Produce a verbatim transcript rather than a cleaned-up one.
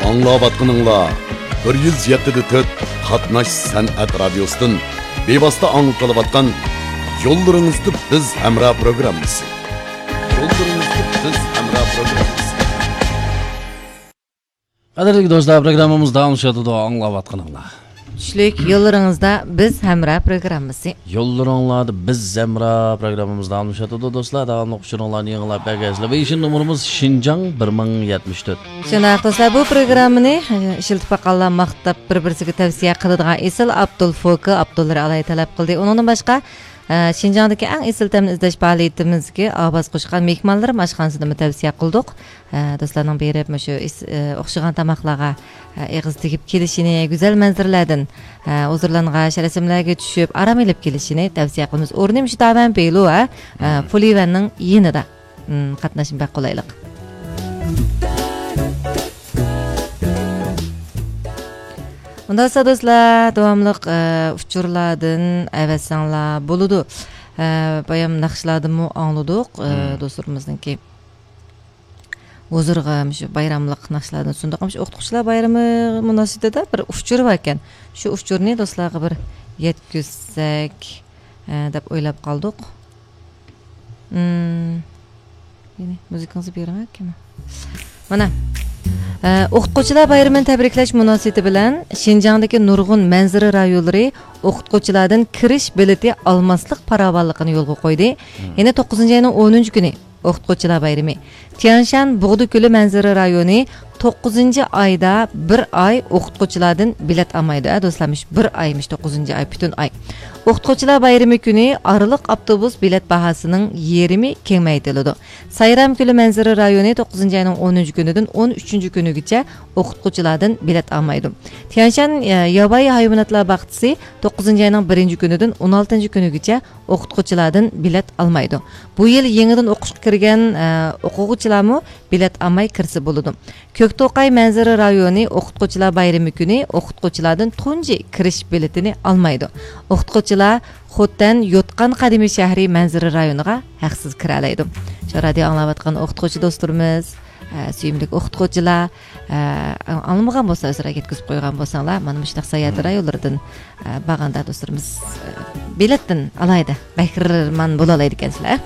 ئاڭلاۋاتقىنىڭلار بىر يۈز يەتتە دە تۆت قاتناش سەنئەت رادىيوسىدىن بىۋاسىتە ئاڭلىتىلىۋاتقان يوللىرىڭىزدا بىز ھەمراھ پروگراممىسى. يوللىرىڭىزدا بىز ھەمراھ پروگراممىسى. قەدىرلىك دوستلار، پروگراممىمىز داۋاملىشىۋاتىدۇ، ئاڭلاۋاتقىنىڭلار. چۈشلۈك يوللىرىڭىزدا بىز ھەمراھ پروگراممىسى. يوللىرىڭلاردا بىز ھەمراھ پروگراممىمىز داۋاملىشىۋاتىدۇ، دوستلار. داۋاملىق ئۇچۇرۇڭلارنى يېڭىلاپ بەرگەيسىلەر. ۋېيشىن نومۇرىمىز شىنجاڭ بىر مىڭ يەتمىش تۆت. شۇنداق، دوستلار، بۇ پروگراممىنى، ئە، ئىشلىتىپ باققانلار ماختاپ، بىر-بىرسىگە تەۋسىيە قىلىدىغان ئېسىل ئابدۇل فوكى ئابدۇللا ئالاي تەلەپ قىلدى. ئۇنىڭدىن باشقا، ئە، شىنجاڭدىكى ئەڭ ئېسىل تەمنى ئىزدەش پائالىيىتىمىزگە ئاۋاز قوشقان مېھمانلىرىم ئاشخانىسىدىمۇ تەۋسىيە قىلدۇق. ئە، دوستلارنىڭ بېرىپ، مۇشۇ ئېس-، ئە، ئوخشىغان تاماقلارغا، ئە، ئېغىز تېگىپ كېلىشىنى، گۈزەل مەنزىرىلەردىن، ئە، ھۇزۇرلانغان شەرەسىملەرگە چۈشۈپ، ئارام ئېلىپ كېلىشىنى تەۋسىيە قىلىمىز. ئورنى مۇشۇ داۋەن بېيلۇ، ھە، ئە، فۇلىۋەننىڭ يېنىدا. م، قاتناشمۇ بەك قولايلىق. ئۇنداق بولسا دوستلار، داۋاملىق، ئە، ئۇچۇرلاردىن ئەۋەتسەڭلار بولىدۇ. ئە، بايام ناخشىلاردىنمۇ ئاڭلىدۇق، ئە، دوستلىرىمىزنىڭكى ھۇزۇرىغا مۇشۇ بايراملىق ناخشىلاردىن سۇندۇق. مۇشۇ ئوقۇتقۇچىلار بايرىمى مۇناسىۋىتىدە بىر ئۇچۇر باركەن. شۇ ئۇچۇرنى دوستلارغا بىر يەتكۈزسەك، ئە، دەپ ئويلاپ قالدۇق. مم. يەنە مۇزىكىڭىزنى بېرىڭ، ئاكىم. مانا. ئە، ئوقۇتقۇچىلار بايرىمىنى تەبرىكلەش مۇناسىۋىتى بىلەن شىنجاڭدىكى نۇرغۇن مەنزىرە رايونلىرى ئوقۇتقۇچىلاردىن كىرىش بېلىتى ئالماسلىق پاراۋانلىقىنى يولغا قويدى. يەنە توققۇزىنچى ئاينىڭ ئونىنچى كۈنى ئوقۇتقۇچىلار بايرىمى. تيەنشان بۇغدا كۆلى مەنزىرە رايونى توققۇزىنچى ئايدا بىر ئاي ئوقۇتقۇچىلاردىن بېلەت ئالمايدۇ. ھە، دوستلار، مۇشۇ بىر ئايمىش، توققۇزىنچى ئاي، پۈتۈن ئاي. ئوقۇتقۇچىلار بايرىمى كۈنى ئارىلىق ئاپتوبۇس بېلەت باھاسىنىڭ يېرىمى كېڭەيتىلىدۇ. سايرام كۆلى مەنزىرە رايونى توققۇزىنچى ئاينىڭ ئونىنچى كۈنىدىن ئون ئۈچىنچى كۈنىگىچە ئوقۇتقۇچىلاردىن بېلەت ئالمايدۇ. تيەنشان، ئە، ياۋايى ھايۋاناتلار باغچىسى توققۇزىنچى ئاينىڭ بىرىنچى كۈنىدىن ئون ئالتىنچى كۈنىگىچە ئوقۇتقۇچىلاردىن بېلەت ئالمايدۇ. بۇ يىل يېڭىدىن ئوقۇشقا كىرگەن، ئە، ئوقۇغۇچىلارمۇ بېلەت ئالماي كىرسە بولىدۇ. كۆكتوقاي مەنزىرە رايونى ئوقۇتقۇچىلار بايرىمى كۈنى ئوقۇتقۇچىلاردىن تۇنجى كىرىش بېلىتىنى ئالمايدۇ. ئوقۇتقۇچىلار خوتەن يوتقان قەدىمىي شەھىرى مەنزىرە رايونىغا ھەقسىز كىرەلەيدۇ. شۇ رادىيو ئاڭلاۋاتقان ئوقۇتقۇچى دوستلىرىمىز، ئە، سۆيۈملۈك ئوقۇتقۇچىلار، ئە، ئاڭلىمىغان بولسا، ئۆزرە يەتكۈزۈپ قويغان بولساڭلار، مانا مۇشۇنداق ساياھەت رايونلىرىدىن، ئە، بارغاندا دوستلىرىمىز، ئە، بېلەتتىن ئالاھىدە بەھرىمەن بولالايدىكەنسىلەر.